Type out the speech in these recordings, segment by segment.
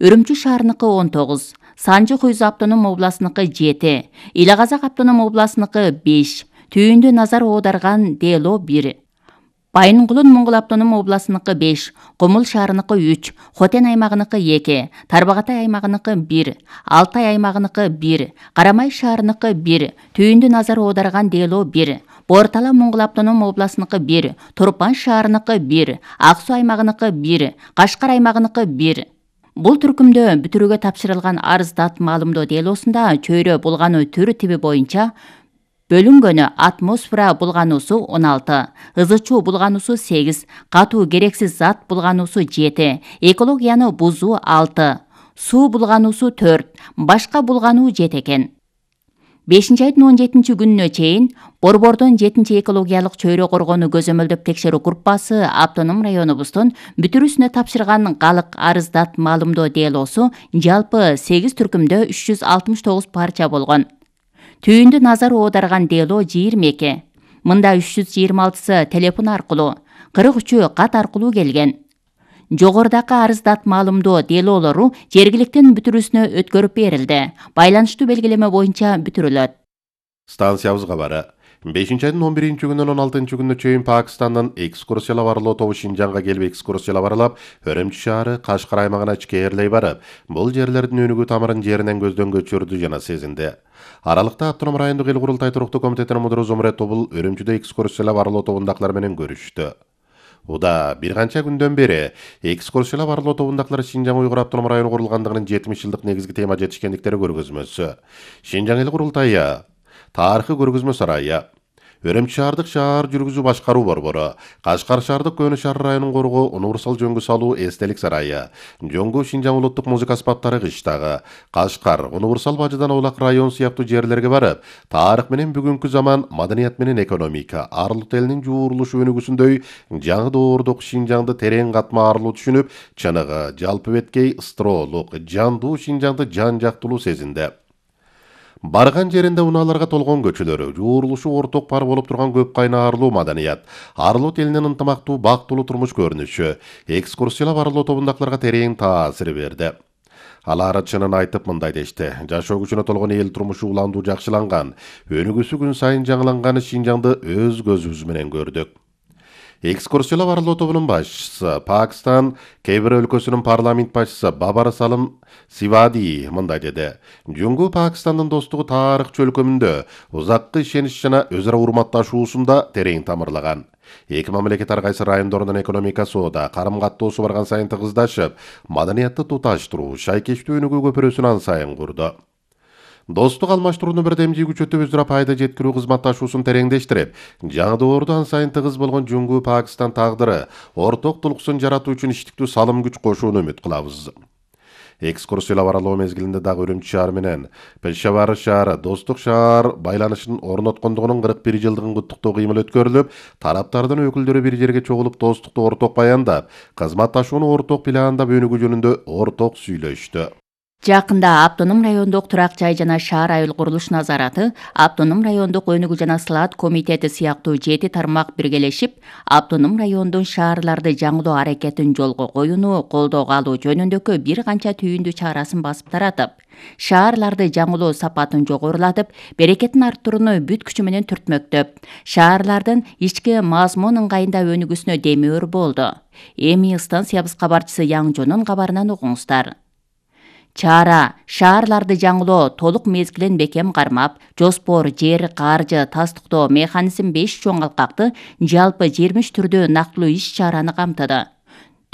Үрүмчү шаарыныкы 19, Санжы Хуйзу автоном областыныкы 7, Ила Казак автоном областыныкы 5, Түйүндү назар оодарган Дело 1. Байынгулун Моңгол автоном областыныкы 5, Кумул шаарыныкы 3, Хотен аймагыныкы 2, Тарбагатай аймагыныкы 1, Алтай аймагыныкы 1, Карамай шаарыныкы 1, Түйүндү назар оодарган Дело 1, Бортала Моңгол автоном областыныкы 1, Турпан шаарыныкы 1, Ак Суу аймагыныкы 1, Кашкар аймагыныкы 1. Бул түркүмдө бүтүрүүгө тапшырылган арыздат маалымдоо делосунда чөйрө булгануу түрү тиби боюнча бөлүнгөнү атмосфера булгануусу 16, ызычуу булгануусу 8, катуу керексиз зат булгануусу 7, экологияны бузуу 6, суу булгануусу 4, башка булгануу 7 экен. 5-айдын 17 күнүнө чейин Борбордон 7 экологиялык чөйрө коргоону көзөмөлдөп текшерүү группасы автоном районубуздун бүтүрүүсүнө тапшырган калык арыздат маалымдоо делосу жалпы 8 түркүмдө 369 парча болгон. Түйүндү назар оодарган дело 22. Мында 326сы телефон аркылуу, 43-ü кат аркылуу келген. Жогорудагы арыздат маалымдоо делолору жергиликтин бүтүрүүсүнө өткөрүп берилди. Байланыштуу белгилеме боюнча бүтүрүлөт. Станциябыз кабары. 5-айдын 11 күнүнөн 16 күнүнө чейин Пакистандын экскурсиялап барлоо тобу Шинжанга келип экскурсиялап аралап, Үрүмчү шаары, Кашкар аймагына ичкээрлей барып, бул жерлердин өнүгүү тамырын жеринен көздөн көчүрдү жана сезинди. Аралыкта автоном райондук эл курултай туруктуу комитетинин мудуру Зумрет Тобул Үрүмчүдө экскурсиялап барлоо тобундакылар менен көрүштү. Уда бир канча күндөн бери экскурсиялап барлоо тобундакылар Шинжаң Уйгур автоном району курулгандыгынын 70 жылдык негизги тема жетишкендиктери көргөзмөсү, Шинжаң эл курултайы, тарыхый көргөзмө сарайы, Үрүмчү шаардык шаар жүргүзүү башкаруу борбору, Кашкар шаардык Көөнү шаар районун коргоо универсал жөнгө салуу эстелик сарайы, Жоңгу Шинжаң улуттук музыка аспаптары кыштагы, Кашкар, универсал Бажыдан Улак район сыяктуу жерлерге барып, тарых менен бүгүнкү заман, маданият менен экономика, Арлут элинин жуурулушу өнүгүүсүндөй жаңы доордук Шинжаңды терең катма арылуу түшүнүп, чыныгы, жалпы беткей, ыстыроолук, жандуу Шинжаңды жан жактылуу сезинди. Барган жеринде унааларга толгон көчөлөрү, жуурулушу орток пар болуп турган көп кайнарлуу маданият, Арлут элинин ынтымактуу, бактылуу турмуш көрүнүшү, экскурсиялап барлоо тобундакыларга терең таасир берди. Алар чынын айтып мындай дешти: жашоо күчүнө толгон эл турмушу уландуу жакшыланган, өнүгүүсү күн сайын жаңыланган Шинжаңды өз көзүбүз менен көрдүк. Экскурсиялап барлоо тобунун башчысы, Пакистан кей бир өлкөсүнүн парламент башчысы Бабар Салым Сивади мындай деди: Жөнгө Пакистандын достугу тарых чөлкөмүндө узаккы ишенич жана өз ара урматташуусунда терең тамырлаган. Эки мамлекет ар кайсы райондордун экономикасы карым-каттоосу барган сайын тыгыздашып, маданиятты туташтыруу, шайкештүү өнүгүү көпүрөсүн ан сайын курду. Достук алмаштырууну бирдемдүү күчөтүп өз ара пайда жеткирүү кызматташуусун тереңдештирип, жаңы доордо ан сайын тыгыз болгон Жөнгүү Пакистан тагдыры орток тулкусын жаратуу үчүн иштиктүү салым күч кошууну үмүт кылабыз. Экскурсиялап аралоо мезгилинде дагы Үрүмчү шаары менен Пешавар шаары, Достук шаар байланышын орноткондугунун 41 жылдыгын куттуктоо кыймыл өткөрүлүп, тараптардын өкүлдөрү бир жерге чогулуп достукту орток баяндап, кызматташууну орток пландап өнүгүү жөнүндө орток сүйлөштү. Жакында автоном райондук турак жай жана шаар айыл курулуш назараты, автоном райондук өнүгүү жана сылаат комитети сыяктуу 7 тармак биргелешип, автоном райондун шаарларды жаңылоо аракетин жолго коюуну колдоого алуу жөнүндөгү бир канча түйүндүү чарасын басып таратып, шаарларды жаңылоо сапатын жогорулатып, берекетин арттырууну бүт күчү менен түртмөктөп, шаарлардын ички мазмун ыңгайында өнүгүүсүнө демөөр болду. Эми станциябыз кабарчысы Яңжонун кабарынан угуңуздар. Чара шаарларды жаңылоо толук мезгилин бекем кармап, жоспор, жер, каржы, тастыктоо, механизм 5 чоң алкакты жалпы 20 түрдүү нактылуу иш чараны камтыды.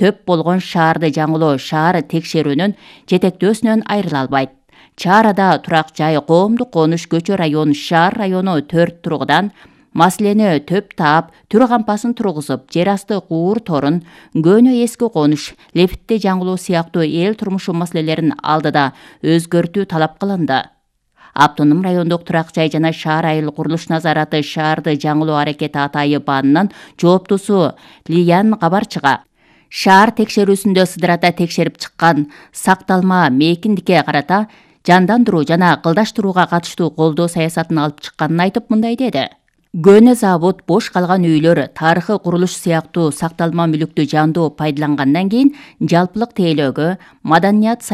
Төп болгон шаарды жаңылоо шаар текшерүүнүн жетектөөсүнөн айрыла албайт. Чарада турак жай, коомдук конуш, көчө район, шаар району 4 тургудан маселени төп таап, түр кампасын тургузуп, жер асты куур торун, көөнө эски конуш, лифтти жаңылоо сыяктуу эл турмушу маселелерин алдыда өзгөртүү талап кылынды. Автоном райондук турак жай жана шаар айыл курулуш назараты шаарды жаңылоо аракети атайы баанынын жооптусу Лиян кабарчыга шаар текшерүүсүндө сыдырата текшерип чыккан сакталма мейкиндикке карата жандандыруу жана кылдаштырууга катыштуу колдоо саясатын алып чыкканын айтып мындай деди: Көөнө завод, бош калган үйлөр, тарыхый курулуш сыяктуу сакталма мүлүктү жандоо пайдалангандан кийин жалпылык тейлөөгө, маданият